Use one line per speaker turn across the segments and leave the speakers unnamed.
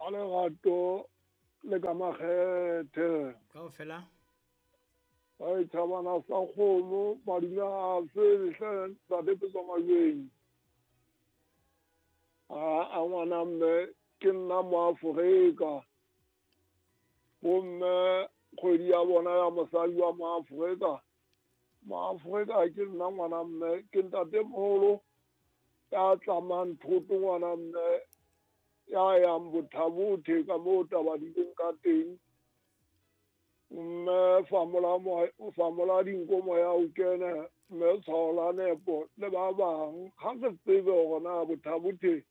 Ka lerato le ka makgethe.
Kaofela.
Ba e thabana sa kgomo madume a fele hle ntate Petswa Majweng. A ngwana mme ke nna Moafrika. Bomme kgwedi ya bona ya mosadi wa Moafrika. Moafrika ke nna ngwana mme ke ntatemoholo ya tlamang thoto ngwana mme ya yang Bothabothe ka moo taba di leng ka teng. Mme famola dinko moya o kene, mme tshwao la nepo le ba bang. Ha re tsebe hore na Bothabothe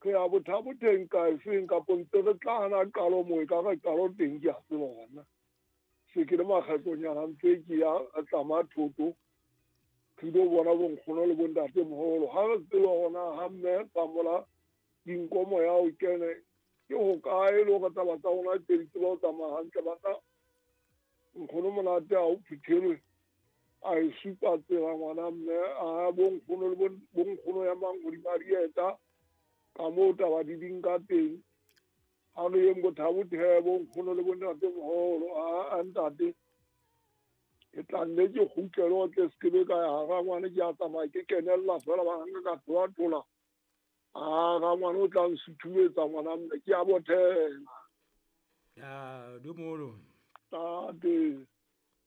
re ya Bothabotheng ka efeng kapo ntse re tla hana qalo moo e ka re qalo teng ke a tseba hona. Se ke le makgetlonyana ntse ke ya re tlama thoto re ilo bona bonkgono le bontatemoholo. Ha re tsebe hore na ha mme famola dinko moya o kene ke hokae le hore taba tsa rona tse di tseba ho tsamaya hantle. Bana nkgono monate ha o phuthelwe a e supa tsela ngwana mme a bonkgono le bonkgono ya mang hodima dieta ka moo taba di ding ka teng. Ha re yeng Bothabothe bonkgono le bontatemoholo a ntate ke tla nne ke kgutlele ho tle se ke be ka ya rangwane ke a tsamaya ke kenella fela ba nka ka thola-thola. A rangwane o tla nsuthumetsa ngwana mme ke a bothela.
Ya dumolo.
Tate.